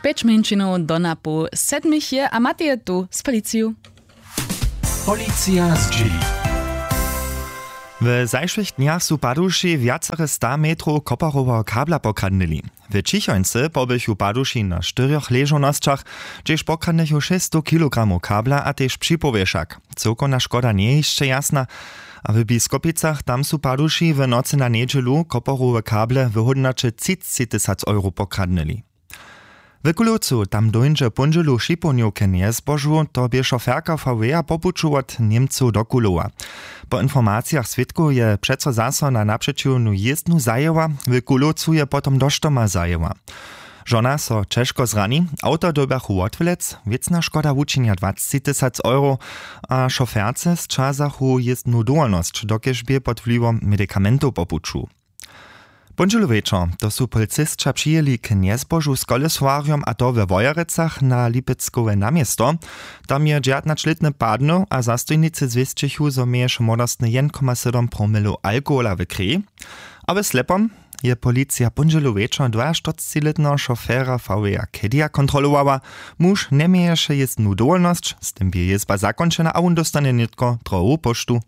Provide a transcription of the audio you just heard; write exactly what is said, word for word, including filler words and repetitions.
Pjeć mjeńšinow do napoł sedmich je a Matej je tu z policiju. Policija zdźěli. W zašłych dnjach su paduši wjacere sta metrow koparoweho kabla pokradnyli. W ćichońcy pobychu paduši na štyrjoch ležownosćach, hdźež pokradnychu šěsćstow kilogramow kabla a tež připowěšak. Cyłkowna škoda njeje hišće jasna. A w biskopicach tam su paduši w nocy na njedźelu koparowe kable w hódnoće třiceći tysac euro pokradnyli. W kulowcu tam dóńdźe póndźelu w šipownju k njezbožu, to bě šoferka vw po puću wot němcow do kulowa. Po informacijach swědkow je přeco zaso na napřećiwnu jězbnu zajěła. W kulowcu je potom doštoma zajěła. Žona so ćežko zrani. Awto dyrbjachu wotwlec. Wěcna škoda wučinja dwaceći tysac euro. A šoferce sćazachu jězbnu dowolnosć, dokelž bě pod wliwom medikamentow po puću. Póndźelu wječor to su policisća přijěli k njezbožu z kolesowarjom, a to we wojerecach na lipeckowe naměsto. Tam je dźewjatnaćlětny padnył a zastojnicy zwěsćichu, zo měješe młodostny jedn koma sydom promilow alkohola w kreji. A w slepom je policija póndźelu wječor dwajaštyrcećilětneho šofera vw kedia kontrolowała. Muž njeměješe jězbnu dowolnosć, z tym bě jězba zakónčena a wón dóstanje nětko drohowu póštu.